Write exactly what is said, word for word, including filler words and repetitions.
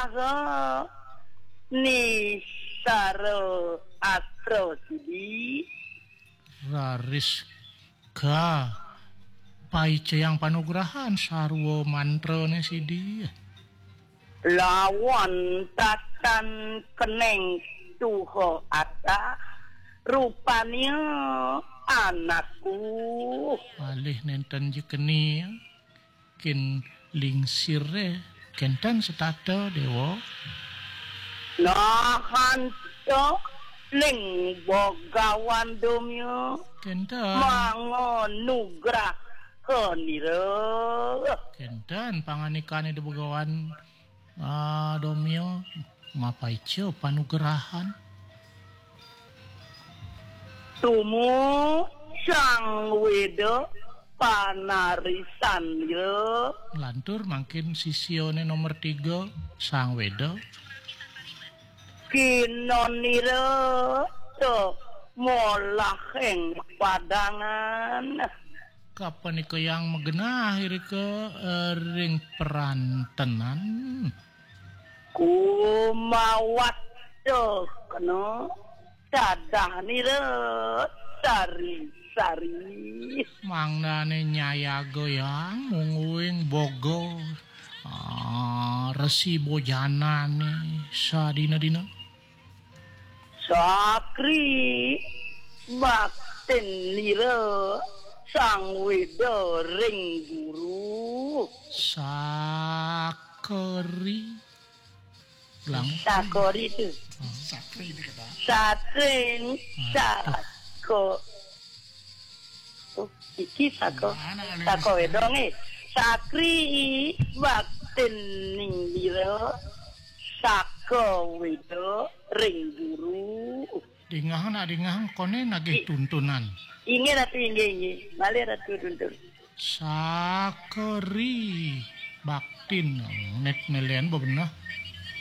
Saha ni sara astra sidi? Raris ka paicayang panugrahan sarwa mantrane sidi. Lawan tatan keneng tuha atah, rupanya anakku. Malih nenten jekeni kin lingsire kenten setata dewa. Nahanta ling bogawan domya. Kenten. Manga nugrah kanira. Kenten panganikane de begawan ah, domya mapaica panugrahan. Tumu sang weda panarisan ira. Lantur mangkin sisiane nomor tiga sang weda. Kinonira to molah ing padangan. Kapanika yang magenah irika eh, ring perantenan. Kumawat to kena tadah nira sari-sari. Mangdane nyayaga yang mungguing boga ah, resi bojanane sadina-dina. Sakri baktin nira sang weda ring guru. Sakri. Lang. Sakori tu. Sakri dia kata. Sakri. Ah, sako. Oh, iki sako. Sako wedong eh. Sakri baktin ningbira sako wedo ring guru. Dingah nak dingah kone nagih tuntunan. Inggih ratu inggih inggih. Malih ratu tuntun. Sakeri baktin nek melen bebenah.